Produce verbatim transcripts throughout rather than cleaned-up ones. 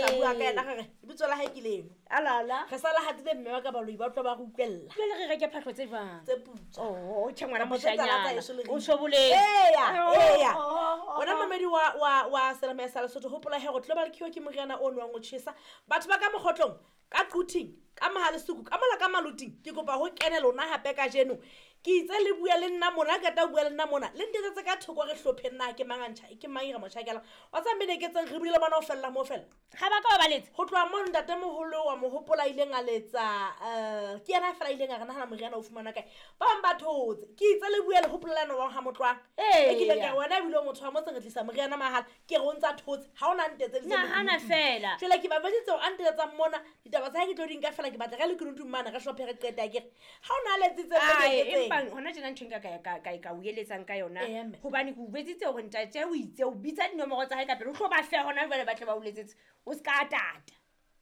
tla bua ka yena re re lebitso la hae ke leno. Alala. Re sala hatile mme wa ka baloi ba utlwa ba re utlwella. Jwale re reke phahlo tse jwang? Tse putswa. Oh, tjhe ngwana Kapa tse tala tsa moshanyana. heso le O re- so boletse. Eya, eya. Oh, oh, Wena oh. mamedi wa wa wa Selemo ya sa Lesotho, hopola he hore Global Cure ke moriana o nwang o tjhesa. Batho ba ka mokgotlong, ka Quthing, ka Mohalesuku, ka mola ka Maluting, ke kopa ho kene lona hape kajeno. Ke itse le bua le nna mona, ha qeta ho bua le nna mona, le ntetsetse ka thoko re hlopheng na ke mang a ntjha, ke mang e re mo tjhakelang. Wa tseba mme ne ke tseng re buile le bona ho fella moo fela. Ha ba ka ba ba letsa. Ho tloha moo ntatemoholo wa mo hopola a ileng a letsa, eh, ke yena feela a ileng a re nahana moriana o fumana kae. Ba bang ba thotse. Ke itse le bue le hopola le yena wa ha Motloang. Eya. E kileng ka re wena ebile o motho wa motse re tlisa moriana mahala. Ke re o ntsa thotse, ha ona ntetseditse Nahana lekunutu. feela. Jwale ke ba jwetsitse hore a ntetsetsang mona, ditaba tsa hae ke tlo di nka feela, ke batla re lekunutung mane, re hlophe re qete akere. Ha ona a letsitse mme Ae, ke etseng? empa hona tjena ntho e nka ka- ka- ka- ka o eletsang ka yona, Eya, mme. hobane ke o jwetsitse hore ntate o itse o bitsa dinomoro tsa hae ka pele, o tlo ba fe hona jwale ba tle ba o letsetse, o se ka tata.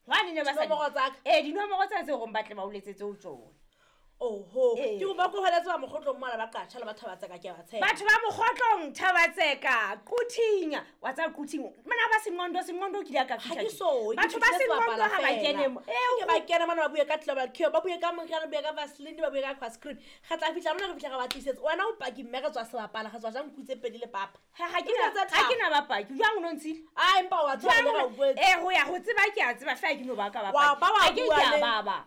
Hobane ne ba sa di- Dinomoro tsa ka? Ee, dinomoro tsena tseo hore ba tle ba o letsetse ho tsona. Oho, Ee. ke kopa ko hweletse ba mokgotlong mola ba qatjha le ba Thabatseka, ke a ba tshepa. Batho ba mokgotlong, Thabatseka, Quthing, wa tseba Quthing, mona ba Senqondo, Senqondo o kile a ka Ha fihla ke teng. so, ke Batho ba fihlile Senqondo sebapala ha ba feela. kene mo. Ee, Ke ba kene mona ba bue ka Global Cure, ba bue ka moriana, ba bue ka Vaseline, ba bue ka Aquascreen. Re tla fihla mona re fihla re ba tlisetse. Wena o paki mme re tswa sebapala, re tswa jang nku tse pedi le papa. Ha, ha ke Ke na- tse ha tharo. ke na bapaki. Jwang o no ntshile? Ah, empa wa tseba Jwang le ra o o buetse. Eh, ho ya ho tseba ke a tseba, feela ke no ba ka Wa bapaki. ba wa Ha ke bua ke a le- baba.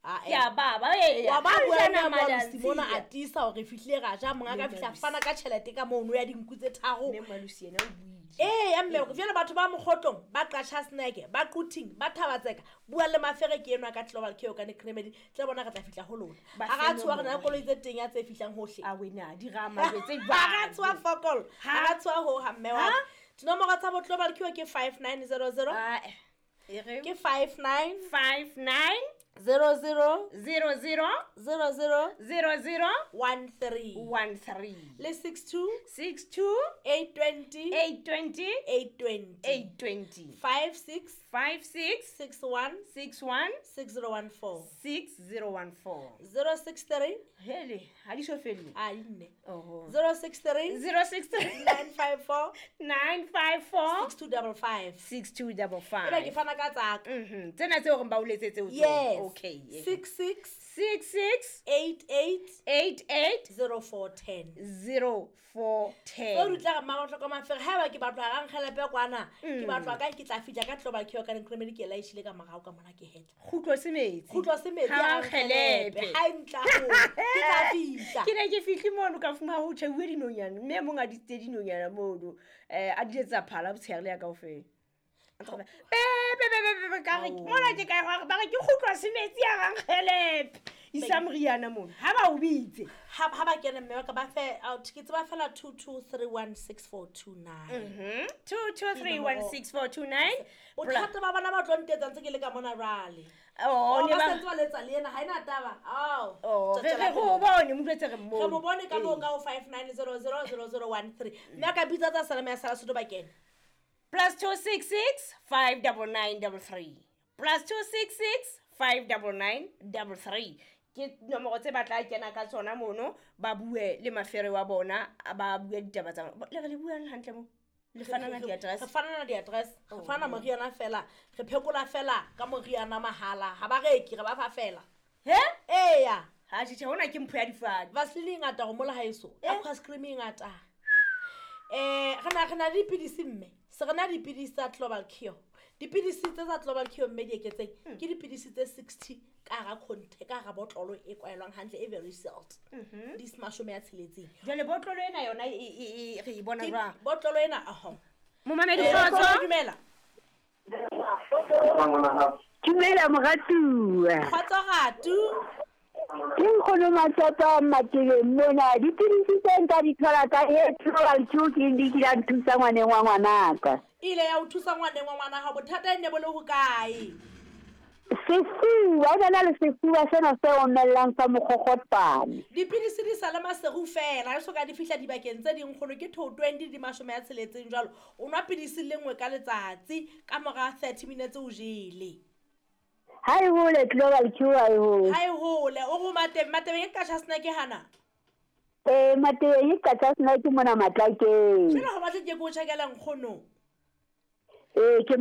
Ah, Ke eh. a baba, ee, Wa ba ha bua jana le madi a Malusi mona a ntshile. tiisa hore re fihlile ra ja, monga ka Mme fihla Malusi. fana ka tjhelete ka mono ya dinku tse tharo. Mme Malusi yena o buile. Ee, ya mme, jwale batho ba mokgotlong, ba Qacha Snack, ba Quthing, ba Thabatseka, bua le Mafere ke enwa ka Global Cure ka Necremedy, tle bona re tla fihla ho lona. Ba Ha ra fe tshoha re na le nomoro. koloi tse teng ya tse fihlang hohle. A wena, di rama jwetse Ha ra jwang? tshoha fokol, ha Ha? ra tshoha ho ha mme wa Ha? ka. Dinomoro tsa bo Global Cure ke five nine zero zero. Ah, e re? Ke five nine five nine zero zero zero zero zero zero zero zero one three one three. Le six two six two eight twenty eight twenty eight twenty eight twenty five six five six six one six one six zero one four six zero one four zero six three Hele, ha di so felle. Ah, di nne. Oho. Zero six three zero six three nine five four nine five four six two double five six two double Ebe ke five. fana ka tsaka. Mhm. Tsena tseo reng ba o letsetse ho tsona. Yes. Okay. Six six six six eight eight eight eight zero four ten zero four ten. Tseo di tla re mma Matloko Mafere, haeba ke batlo ha rankgelepe kwana, ke batlo ka ke tla fihla ka Global Cure ka Necremedy, ke laeshile ka morao ka mona ke hetla. Kgutlo se metsi. Kgutlo se metsi, Ha ha rankgelepe. rankgelepe. Ha e ntla ho, ke tla fihla. Ke ne ke fihle mono ka fumana ho tjheuwe dinonyana, mme e mong a disitse dinonyana mono, eh, a di etsa phala botshehare le ya kaofela. Be, be, be, be, be, be, ka re, Ao. mona ke kae hore ba re ke kgutlwa se metsi a rankgelepe. Isa moriana mono, ha ba o bitse. Ha, ha ba kene mme wa ka ba fe, out, ke tseba fela two two three one six four two nine. Mhm. two two three one six four two nine. Bothata ba bona ba tlo ntetsa ntse ke le ka mona jwale. Oh, Oh, ne ba ba- sentse ba letsa le ena, ha ena taba. Ao. Oh, Tswela re re pele. ho bone, mo jwetse re mmone. Re mo bone ka moo Ee. ka ho five nine zero zero zero zero one three. Mme a ka bitsa tsa Selemo ya Sala Sotho ba kene. Plus two six six five double nine double three. Plus two six six five double nine double three. Ke nomoro tse ba tla kena ka tsona mono, ba bue le mafere wa bona, ba bue ditaba tsa bona. Le re le buang hantle mo? Le fanana di-address? Re fanana di-address. Re fana moriana fela. Re phekola fela ka moriana mahala. Ha ba reke, re ba fa fela. He? Eya. Ha, tjhe, tjhe, hona ke mpho ya difate. Vaseline e ngata ho mola haeso. Eh? Aquascreen e ngata. Eh, re na, re na le dipidisi mme. Se re na le dipidisi tsa Global Cure. Dipidisi tse tsa Global Cure mme di eketseng, Hmm. ke dipidisi tse sixty ka hara container, ka hara botlolo e kwaelwang hantle, e very sealed. Mhm. Di mashome a tsheletseng. Jwale botlolo ena yona e, e, e, re e bona Ke jwang? botlolo ena, aho. Momamedi Eh, kgotso. dumela. Dumela moratuwa. Kgotso ratu. Ke nkgono Matsapa Matebeng mona. Dipidisi tse nka di thola ka e Global Cure ke di kile ya nthusa ngwaneng wa ngwanaka. E ile ya o thusa ngwaneng wa ngwana hao, bothata e ne bo le hokae? Sefuba, o na le sefuba sena se omellang sa mokgokgotsane. Dipidisi di sa le maseru fela, ha e soka di fihla dibakeng tse ding kgono ke two twenty di mashome a tsheletseng jwalo. O nwa pidisi le nngwe ka letsatsi, ka mora thirty minutes o jele. Ha e hole Global Cure ha e hole. Ha e hole, o re Matebeng, Matebeng e Qacha Snack hana? Eh, Matebeng e Qacha Snack mona Matlakeng. Jwale ho batle ke ko tjhakela nkgono. Eh, ke